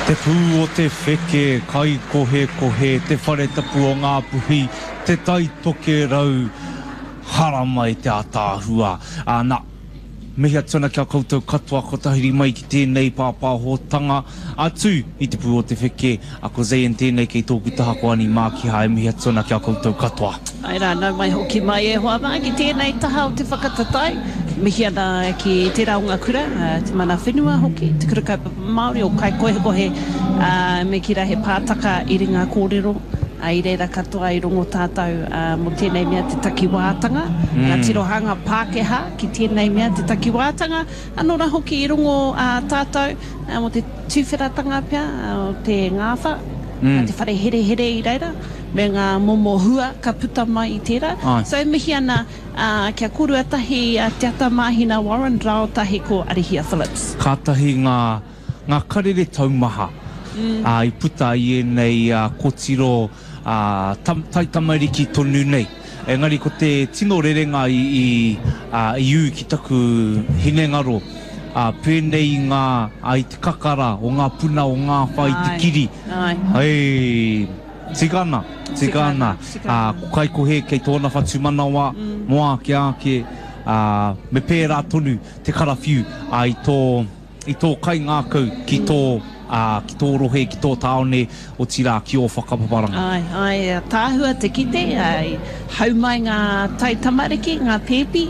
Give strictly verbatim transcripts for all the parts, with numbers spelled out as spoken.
Te pū o te wheke, Kaikohekohe, te whare tapu o Ngāpuhi, Te Tai Tokerau, haramai te ātaahua. Ā, nā, mihi atu ana ki a koutou katoa kua tahuri mai ki tēnei pāpāhotanga atu i te pū o te wheke, a ko Zayn tēnei kei tōku taha ko Ani Mākiha e mihi atu ana ki a koutou katoa. Āe rā, nau mai hoki mai e hoa mā ki tēnei taha o te whakatatae. Mihi ana ki tērā o ngā kura, te mana whenua hoki, te Kura Kaupapa Māori o Kaikohekohe, ā, me kī rā he pātaka i ringa kōrero, ā, i reira katoa i rongo tātou, ā, mō tēnei mea te takiwātanga, ngā tirohanga Pākehā ki tēnei mea te takiwātanga, anō rā hoki i rongo, ā, tātou, ā, mō te tuwheratanga pea o te ngāwha, te whare herehere i reira, me ngā momo hua ka puta mai i tērā. So e mihi ana kia kōrua tahi a Te Atamāhina Warren rāo tahi ko Arihia Phillips. Kātahi ngā, ngā karere taumaha i puta i ēnei kōtiro taitamariki tonu nei. Engari ko te tino rerenga i, i, i ū ki taku hinengaro, pēnei i ngā, i te kakara o ngā puna o ngā whai te kiri. Hei, tika ana, tika ana. Ko Kaikohe kei tōna whatumanawa, mō ake ake, me pērā tonu te karawhiu i tō, i tō kaingākau ki tō, ā, ki tō rohe, ki tō tāone, otirā, ki ō whakapaparanga. Āe, āe, ātaahua te kite, āe, hau mai ngā taitamariki, ngā pēpi,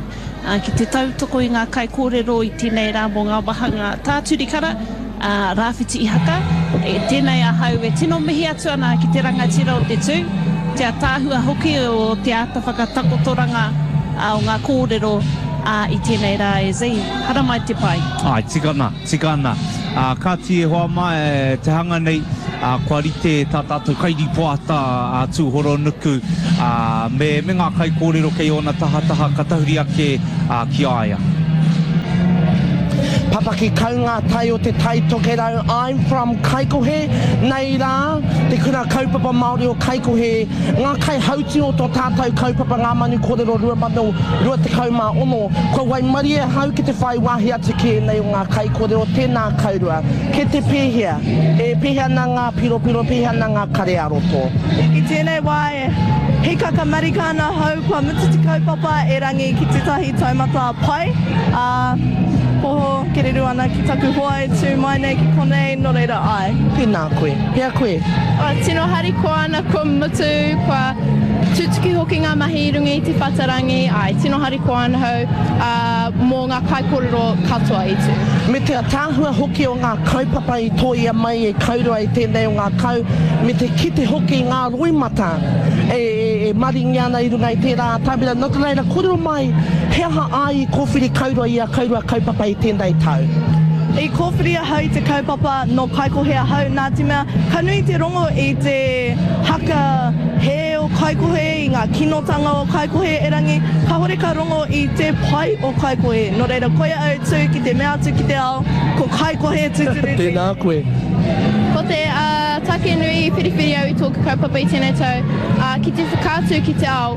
ā, ki te tautoko i ngā kaikōrero i tēnei rā mō ngā wāhanga tāturikara, ā, Rāwhiti Ihaka, e, tēnei ahau e tino mihi atu ana ki te rangatira o te tū, te ātaahua hoki o te āta whakatakotoranga o ngā kōrero, ā, i tēnei rā e Zee. Haramai te pai. Āe, tika ana, tika ana. Ā, kāti e hoa mā, e, te hanga nei, ā, kua rite tā tātou kairīpoata a Tūhoronuku, ā, me, me ngā kaikōrero kei ōna tahataha ka tahuri ake, ā, ki a ia. Papaki kau ngā tai o Te Tai Tokerau, I'm from Kaikohe, nei rā, te kura kaupapa Māori o Kaikohe, ngā kaihautū o tō tātou kaupapa Ngā Manu Kōrero rua mano rua tekau mā ono, kua waimarie ahau ki te whai wāhi atu ki ēnei o ngā kaikōrero, tēnā kaurua. Ke te pēhea? E pēhea ana ngā piropiro, pēhea ana ngā kare ā-roto? I tēnei wā e hīkaka marika ana ahau kua mutu te kaupapa erangi ki tētahi taumata pai, ā, poho kereru ana ki taku hoa e tū mai nei ki konei, nō reira āe. Tēnā koe. Hea koe? Oh, tino harikoa ana kua mutu, kua tutuki hoki ngā mahi i runga i te whatarangi, āe, tino harikoa ana hau, ā, mō ngā kaikōrero katoa i tū. Me te ataahua hoki o ngā kaupapa i tōia mai e Kaurua i tēnei o ngā kau, me te kite hoki i ngā roimata e, e maringi ana i runga i tērā atamira. Nō te reira, kōrero mai, he aha ai i kōwhiri Kaurua i a Kaurua kaupapa i tēnei tau? I kōwhiri ahau i te kaupapa nō Kaikohe ahau nā te mea ka nui te rongo i te haka hē o Kaikohe, i ngā kinotanga o Kaikohe erangi kahore ka rongo i te pai o Kaikohe. Nō reira koia au tū ki te mea atu ki te ao, ko Kaikohe tūturu te. Tēnā koe. Ko te take nui i whiriwhiri au i tōku kaupapa i tēnei tau, ki te whakaatu ki te ao,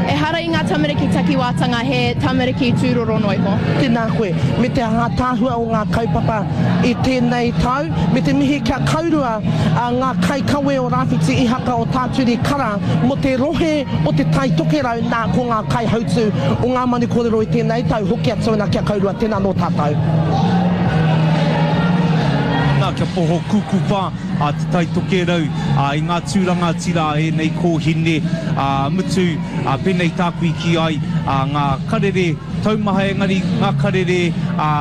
ehara i ngā tamariki takiwātanga he tamariki tūroro noa iho. Tēnā koe, me te ātaahua o ngā kaupapa i tēnei tau, me te mihi kia kaurua ngā kaikawe o Rāwhiti Ihaka o Tāturi Kara mō te rohe o Te Tai Tokerau, nā, ko ngā kaihautū o Ngā Manu Kōrero i tēnei tau, hoki atu ana kia kaurua, tēnā nō tātou. Nā, kia poho kūkupa a Te Tai Tokerau i ngā tūranga tira a ēnei kōhine, ā, mutu, ā, pēnei tāku i kī ai, ā, ngā karere taumaha engari ngā karere, ā,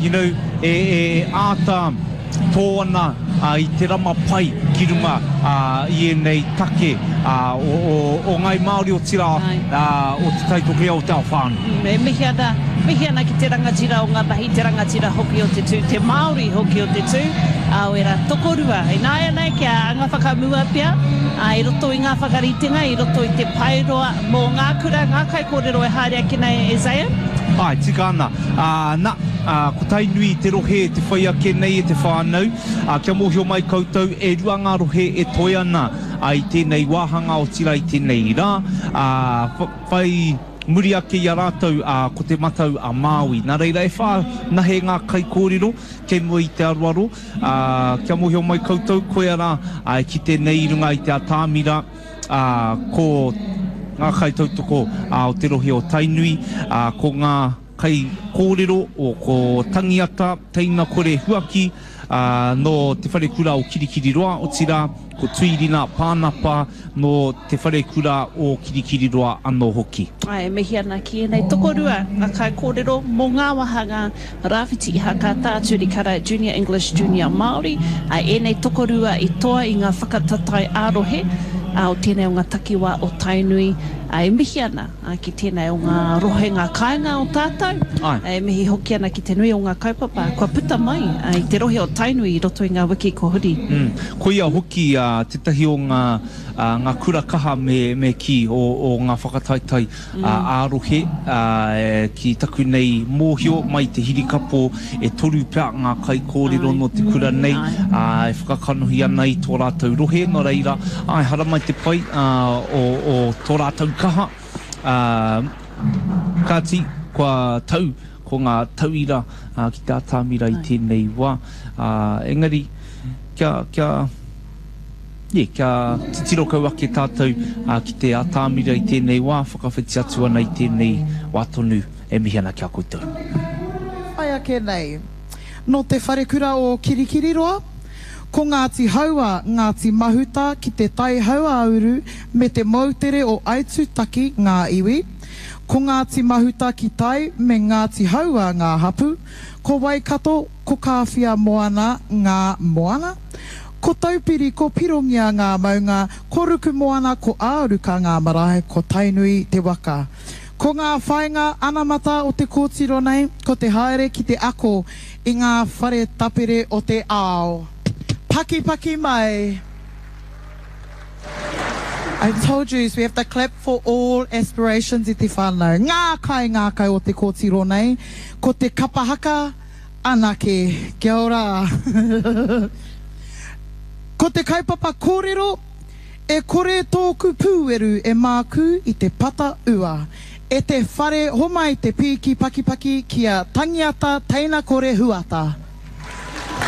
you know, e, e āta tō ana, ā, i te rama pai ki runga, ā, i ēnei take, ā, o, o, o Ngāi Māori otirā, ā, o Te Tai Tokerau, o te ao whānui. E mihi ana, mihi ana ki te rangatira o ngā mahi, te rangatira hoki o te tū, te Māori hoki o te tū, ā, o ērā tokorua. Ināianei kia anga whakamua pea, ā, i roto i ngā whakaritenga, i roto i te paeroa mō ngā kura, ngā kaikōrero e haere ake nei e Zane. Āe, tika ana. Ā, na, ā, ko Tainui te rohe te whai ake nei e te whānau. Ā, kia mōhio mai koutou, e rua ngā rohe e toe ana, ā, i tēnei wāhanga, otirā i tēnei rā, ā, whai. Muri ake i a rātou ko Te Matau a Māui. Nā reira e whā nahe ngā kaikōrero kei mua i te aroaro, ā, kia mōhio mai koutou koia rā e kite nei i runga i te atamira, ā, ko ngā kaitautoko o te rohe o Tainui, ā, ko ngā kaikōrero o ko Tangiata, Teina Kore Huaki, ā, nō Te Wharekura o Kirikiriroa, otirā, ko Tuirina Pānapa nō Te Wharekura o Kirikiriroa anō hoki. Āe, e mihi ana ki ēnei tokorua ngā kaikōrero mō ngā wāhanga Rāwhiti Ihaka, Tā Turi Kara, Junior English, Junior Māori, ā, ēnei tokorua i toa i ngā whakatatae ā-rohe o tēnei o ngā takiwā o Tainui, ā, e mihi ana ki tēnei o ngā rohe, ngā kāinga o tātou, e mihi hoki ana ki te nui o ngā kaupapa kua puta mai i te rohe o Tainui i roto i ngā wiki kua huri. Mm, koia hoki tētahi o ngā, ngā kura kaha me, me kī o, o ngā whakataetae mm. ā-rohe ki taku nei mōhio mai te hirikapo e toru pea ngā kaikōrero nō te kura nei e whakakanohi ana i tō rātou rohe, nō reira, āe, haramai te pai o, o tō rātou kaha. Ā, kāti, kua tau ko ngā tauira ki te atamira i tēnei wā. Ā, engari, kia, kia, yeah, kia titiro kau ake tātou ki te atamira i tēnei wā, whakawhiti atu ana i tēnei wā tonu e mihi ana ki a koutou. Whai ake nei, nō te wharekura o Kirikiriroa, ko Ngāti Haua, Ngāti Mahuta ki te Tai Hauāuru me te moutere o Aitutaki ngā iwi, ko Ngāti Mahuta ki tai me Ngāti Haua ngā hapu, ko Waikato, ko Kāwhia Moana ngā moana, ko Taupiri, ko Pirongia ngā maunga, ko Rukumoana, ko Āruka ngā marae, ko Tainui te waka. Ko ngā whāinga anamata o te kōtiro nei, ko te haere ki te ako i ngā whare tapere o te ao. Pakipaki mai! I told you, we have to clap for all aspirations i te whānau. Ngā kaingākau o te kōtiro nei, ko te kapa haka anake. Kia ora! Ko te kaupapa kōrero, E kore tōku pūweru e mākū i te pata ua. E te whare homai te pīki pakipaki ki a Tangiata Teinakore Huata.